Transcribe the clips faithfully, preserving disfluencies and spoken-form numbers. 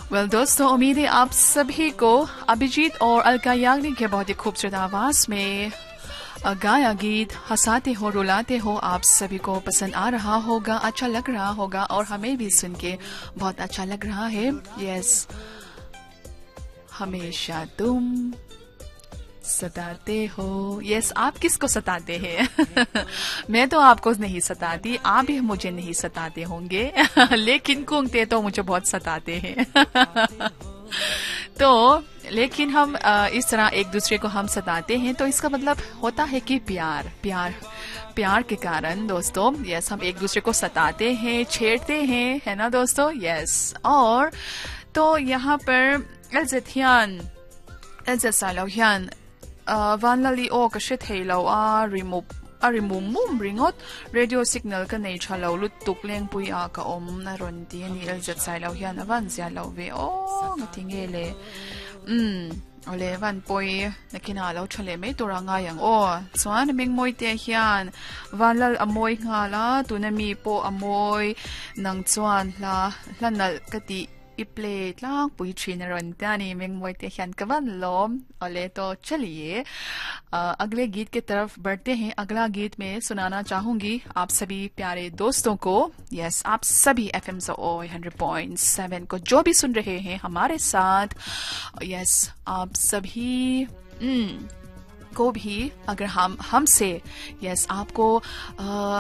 Well दोस्तों, उम्मीद है आप सभी को अभिजीत और अलका याग्निक के बहुत ही खूबसूरत आवाज में गाया गीत हंसाते हो रुलाते हो आप सभी को पसंद आ रहा होगा, अच्छा लग रहा होगा और हमें भी सुन के बहुत अच्छा लग रहा है। यस, हमेशा तुम सताते हो। यस, आप किसको सताते हैं? मैं तो आपको नहीं सताती, आप भी मुझे नहीं सताते होंगे, लेकिन कुंगते तो मुझे बहुत सताते हैं। तो लेकिन हम इस तरह एक दूसरे को हम सताते हैं तो इसका मतलब होता है कि प्यार, प्यार, प्यार के कारण दोस्तों, यस, हम एक दूसरे को सताते हैं, छेड़ते हैं, है ना दोस्तों? यस, और तो यहाँ पर एलजेथियान एलजेसाइलोहियान vanlali o ka hre thei lo a remove a remove mum ringot radio signal ka nei tha lo lut tuk leng pui a ka om na ron ti ani lz sai lo hian avan zia lo ve o ngatinge le um ole van poi nakina lo thale mai tura nga yang o chuan ming moi te hian vanlal amoi nga la tuna mi po amoi nang chuan la hlanal ka ti i play tlang pui thin ron tani ming moi te hian kawan lom ole तो चलिए अगले गीत के तरफ बढ़ते हैं। अगला गीत मैं सुनाना चाहूंगी आप सभी प्यारे दोस्तों को। यस, आप सभी F M hundred point seven को जो भी सुन रहे हैं हमारे साथ, यस, आप सभी को भी अगर हम हमसे यस आपको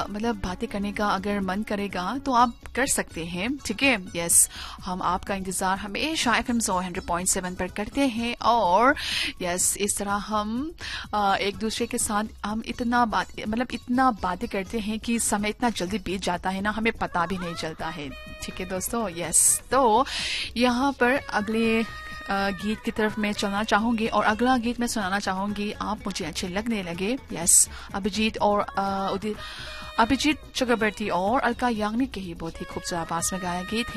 मतलब बातें करने का अगर मन करेगा तो आप कर सकते हैं, ठीक है? यस, हम आपका इंतज़ार हमेशा F M hundred point seven पर करते हैं और यस इस तरह हम आ, एक दूसरे के साथ हम इतना बात मतलब इतना बातें करते हैं कि समय इतना जल्दी बीत जाता है ना, हमें पता भी नहीं चलता है, ठीक है दोस्तों? यस, तो यहाँ पर अगले गीत की तरफ मैं चलना चाहूंगी और अगला गीत मैं सुनाना चाहूंगी आप मुझे अच्छे लगने लगे। यस, अभिजीत और अभिजीत चक्रवर्ती और अलका याग्निक के ही बहुत ही खूबसूरत आवाज में गाया गीत है।